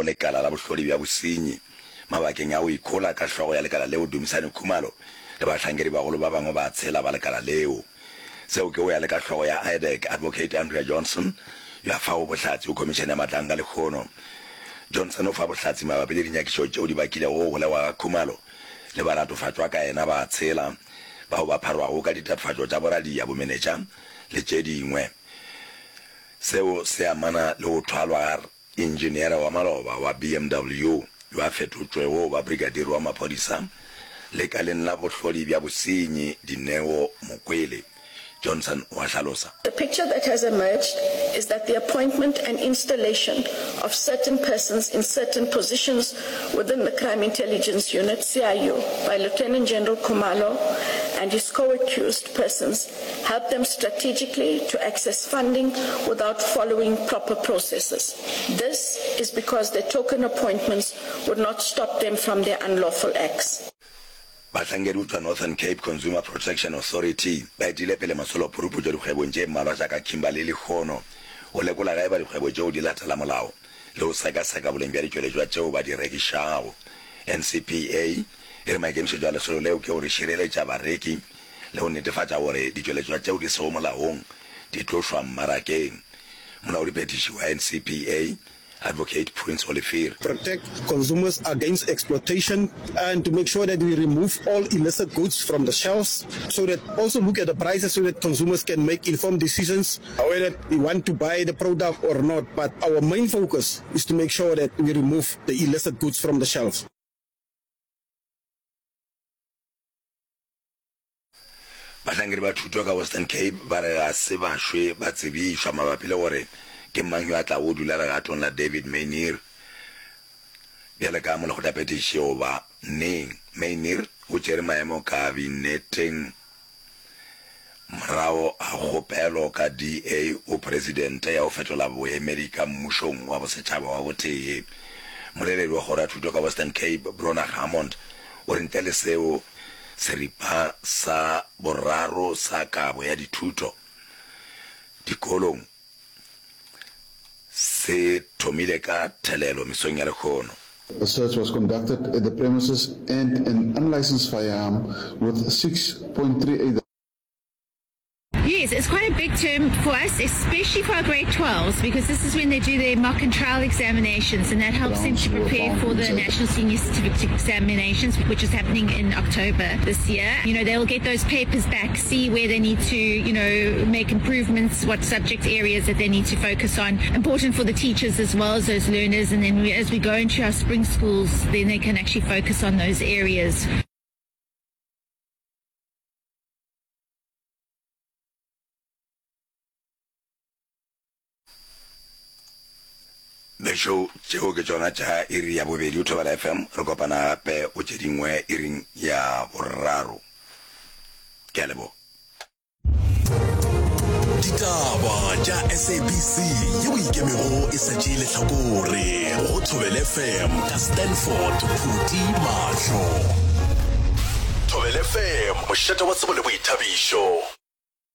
go lekala la bohlodi bja bosenyi mabakeng a go ikhola ka hlogo ya lekala leo Dumisani Khumalo le bahlankedibagolo ba bangwe ba tshela ba lekala leo. Seo ke go ya le ka hlogo ya IDAC, Advocate Andrea Johnson, yo a fago bohlatse go Khomišene ya Matlanka lehono. Johnson o fa bohlatse mabapi le dinyakišo tšeo di bakilego go golegwa ga Khumalo le baratofatšwa ka yena ba tshela bao ba pharwago ka ditatofatšo tša boradia, bomenetša le tše dingwe. Seo se amana le go thwalwa ga Injiniere wa maloba wa BMW yo a fetotšwego go ba brigadier wa maphodisa lekaleng la bohlodi bja bosenyi Dineo Mokwele Johnson o a hlalosa. The picture that has emerged is that the appointment and installation of certain persons in certain positions within the Crime Intelligence Unit, CIU, by Lieutenant General Khumalo and his co-accused persons helped them strategically to access funding without following proper processes. This is because their token appointments would not stop them from their unlawful acts. Bahlankedi go tšwa Northern Cape Consumer Protection Authority ba etile pele masolo-phuruputšo dikgwebong tše mmalwa tša ka Kimberley lehono go lekola ge eba dikgwebo tšeo di latela molao le go sekaseka boleng bja ditšweletšwa tšeo ba di rekišago. NCPA e re maikemišetšo a lesolo leo ke gore šireletša bareki le go netefatša gore ditšweletšwa tšeo di sego molaong di tlošwa mmarakeng. Molaodiphethiši wa NCPA, Advocate Prince Olivier. Protect consumers against exploitation and to make sure that we remove all illicit goods from the shelves so that also look at the prices so that consumers can make informed decisions whether they want to buy the product or not but our main focus is to make sure that we remove the illicit goods from the shelves. Bahlankedi ba thuto ka Western Cape ba re ga se ba šwe ba tsebišwa mabapi le gore ke mang yo a tlago go dula legatong la David Maynier bjale ka molekgotlaphethiši goba neng. Maynier o tšere maemo kabineteng morago ga kgopelo ka DA go presidente ya go fetola boemedi ka mmušong wa bosetšhaba wa botee. Moleledi wa kgoro ya thuto ka Western Cape, Bronagh Hammond, o re ntle le seo, Seripa sa boraro sa kabo ya dithuto dikolong se thomile ka thelelo mesong ya lehono. A search was conducted at the premises and an unlicensed firearm with 6.38. Yes, it's quite a big term for us, especially for our grade 12s, because this is when they do their mock and trial examinations, and that helps them to prepare for the National Senior Certificate examinations, which is happening in October this year. You know, they'll get those papers back, see where they need to, you know, make improvements, what subject areas that they need to focus on. Important for the teachers as well as those learners, and then we, as we go into our spring schools, then they can actually focus on those areas. Bešo, tšeo ke tšona tša iri ya bobedi o Thobela FM. Re kopana gape go tše dingwe iring ya boraro. Ke a leboga. Ditaba tša SABC yeo ikemego e sa tšee lehlakore go Thobela FM ka Stanford Phuti Mahlo. Thobela FM, mošate wa tsebo le boithabišo.